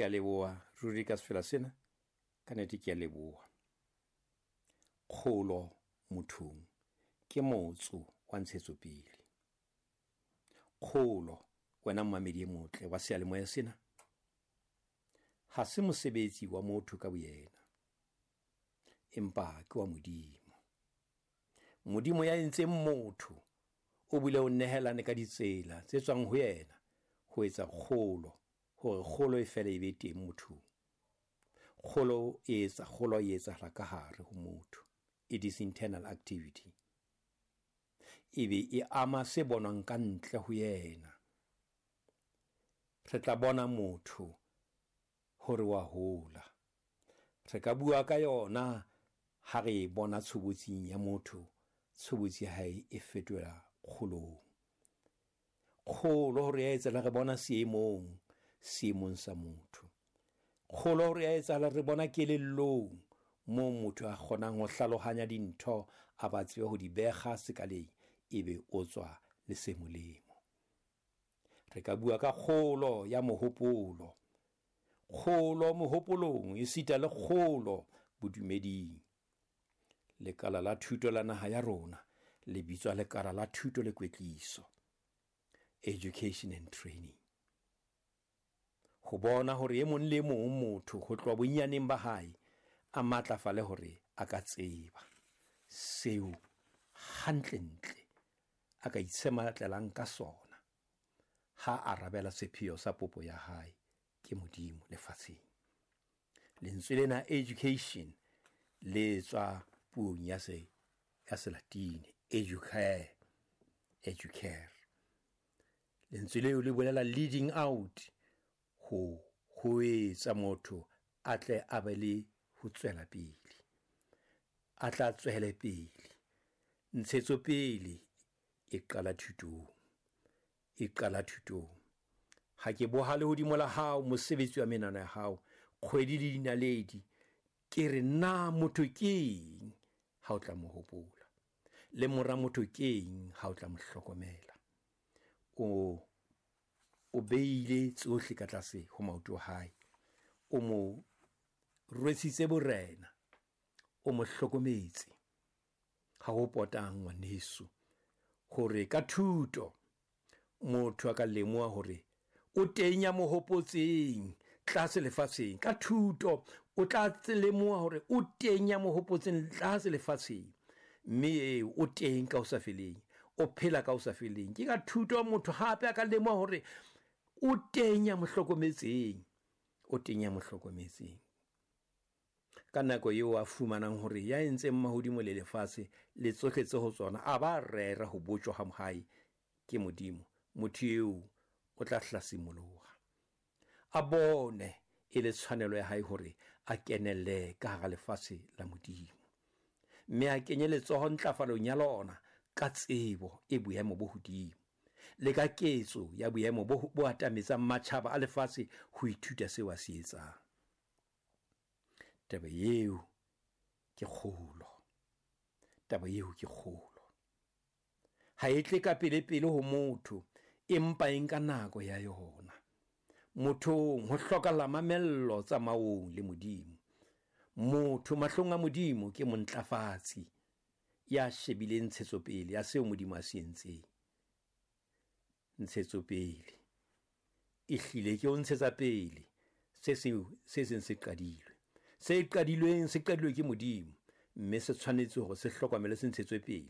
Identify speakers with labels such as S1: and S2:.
S1: Ke a leboha ruri ka sefela sena, ka nete ke a leboha. Kgolo mothong ke motso wa ntshetsopele. Kgolo, wena mmamedi e motle wa seyalemoya sena, ha se mosebetsi wa motho ka boyena, empa ke wa Modimo. Modimo ya entseng motho o bile o nehelane ka ditsela tse tswang ho yena ho etsa kgolo, hore kgolo e fele e be teng mothong. Kgolo e etsa kgolo e etsahala ka hare ho motho. It is internal activity. Ebe e ama se bonwang ka ntle ho yena. Re tla bona motho hore wa hola. Re ka bua ka yona ha re e bona tshobotsing ya motho, tshobotsi ya hae e fetola kgolong. Kgolo hore ya etsahala re bona seemong, seemong sa motho. Kgolo hore ya etsahala re bona kelellong, moo motho a kgonang ho hlalohanya dintho, a ba tsebe ho di bekga sekaleng, ebe o tswa le se molemo. Re ka bua ka kgolo ya mohopolo, kgolo mohopolong esita le kgolo bodumeding. Lekala la thuto la naha ya rona le bitswa lekala la thuto le kwetliso, education and training. Ho bona hore e mong le mong motho ho tloha bonyaneng ba hae a matlafale hore a ka tseba seo hantlentle a ka itshematlelang ka sona ha a arabela sepheo sa popo ya hae ke Modimo lefatsheng. Lentswe lena education le tswa puong ya se ya Selatine educare, educare. Lentswe leo le bolela leading out, ho etsa motho a tle a be le ho tswela pele, a tla tswele pele. Ntshetsopele e qala thutong, e qala thutong. Ha ke boha lehodimo la hao, mosebetsi wa menwana ya hao, kgwedi le dinaledi, ke re na motho keng ha o tla mo hopola, le mora motho keng ha o tla mo hlokomela. O beile tsohle ka tlase ho maoto a hae, o mo rwesitse borena, o mo hlokometse. Ha ho potang ngwaneso hore ka thuto motho a ka lemoha hore o teng ya mo hopotseng tlase lefatsheng. Ka thuto o tla lemoha hore o teng ya mo hopotseng tlase lefatsheng, mme eo o teng ka ho sa feleng, o phela ka ho sa feleng. Ke ka thuto motho hape a ka lemoha hore o teng ya mo hlokometseng, o teng ya mo hlokometseng. Ka nako eo a fumanang hore ya entseng mahodimo le lefatshe le tsohle tse ho tsona a ba rera ho botjwa ha hae ke Modimo, motho eo o tla hlasimoloha, a bone e le tshwanelo ya hae hore a kenelle ka hara lefatshe la Modimo, mme a kenye letsoho ntlafalong ya lona ka tsebo e boemo bo hodimo le ka ketso ya boemo bo atametsang matjhaba a lefatshe ho ithuta seo a se etsang. Taba eo ke kgolo, taba eo ke kgolo. Ha e tle ka pele-pele ho motho, empa e nka nako ya yona. Mothong ho hlokahala mamello tsamaong le Modimo. Motho mahlong a Modimo ke montlafatsi ya shebileng ntshetsopele ya seo Modimo a se entseng. Ntshetsopele e hlile ke ho ntshetsa pele se seng se qadilwe. Se qadilweng se qadilwe ke Modimo, mme se tshwanetse hore se hlokomele se ntshetswe pele.